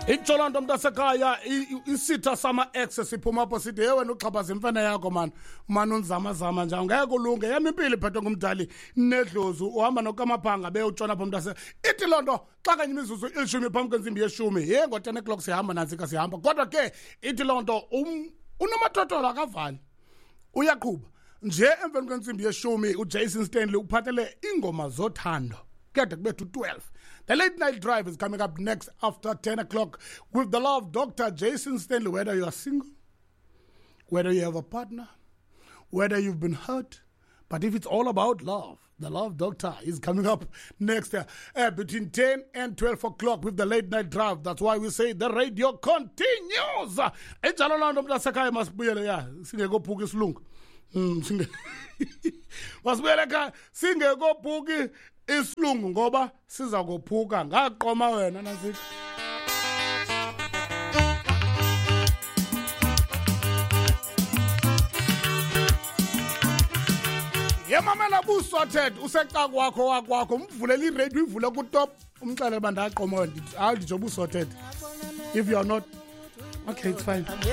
Itsho loo nto, mntasekhaya, isitha sama-ex siphuma apho sithi, ye wena uxhaphaza imfene yakho mani, umane unzamazama nje, angeke ulunge. Yam impilo iphethwe ngumdali nedlozi, uhamba nokamaphanga beyotshona apho, mntase. Ithi loo nto xa kanye imizuzu ilishumi phambi kwentsimbi yeshumi, ye ngo-10 o'clock sihamba, nantsika sihamba. Kodwa ke ithi loo nto unomathotholo akavali, uyaqhuba nje. Emveni kwentsimbi yeshumi uJason Stanley uphathele iingoma zothando kede kubethu 12. The Late Night Drive is coming up next after 10 o'clock with the love Doctor Jason Stanley. Whether you are single, whether you have a partner, whether you've been hurt, but if it's all about love, the Love Doctor is coming up next between 10 and 12 o'clock with the Late Night Drive. That's why we say the radio continues. Enjalo loo nto, mntasekhaya, masibuyele ya singekophuki isilungu. Masibuyele ekhaya singekophuki isilungu, ngoba siza kophuka ngaqoma wena nantsika. Yemamela, busorted useca kwakho wakwakho, umvulele iradio, uyivule kutop, umxelele uba ndaqoma wena. Hayi, nditsho busorted. If you are not okay, it's fine.